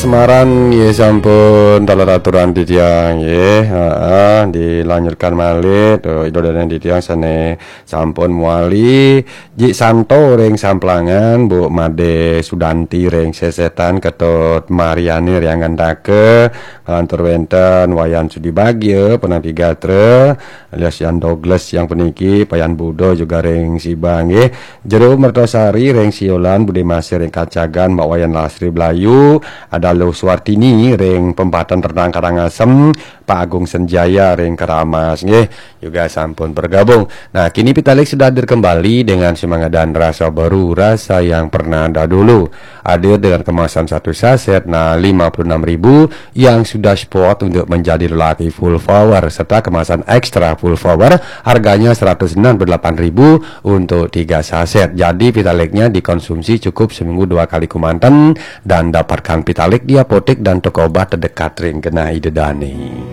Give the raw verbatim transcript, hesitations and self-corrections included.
Semaran nggih sampun taler aturan titiang nggih. Heeh, dilanjutkan malih to Ida Dane titiang sane sampun muali Jik Santo ring Samplangan, Bu Made Sudanti ring Sesetan, Ketut Mariani ring Anggantaka, lantur wenten Wayan Sudi Bagya, Penapi Gatra, alias Yan Douglas yang puniki, Payan Budo juga ring Sibang nggih. Jero Mertosari ring Siolan, Bude Masih ring Kacagan, Mbak Wayan Lasri Blayu, ada Luh Suartini ring Pempatan Ternak Karangasem, Pak Agung Senjaya ring Keramas nggih juga sampun bergabung. Nah, kini Pitalik sudah hadir kembali dengan semangat dan rasa baru, rasa yang pernah dahulu. Hadir dengan kemasan satu saset, nah, lima puluh enam ribu, yang sudah spot untuk menjadi lelaki full power, serta kemasan extra full power, harganya seratus enam puluh delapan ribu untuk tiga saset. Jadi Pitaliknya dikonsumsi cukup seminggu dua kali kemanten dan dapatkan Pitalik di apotek dan toko obat terdekat ring genah Ida Dane.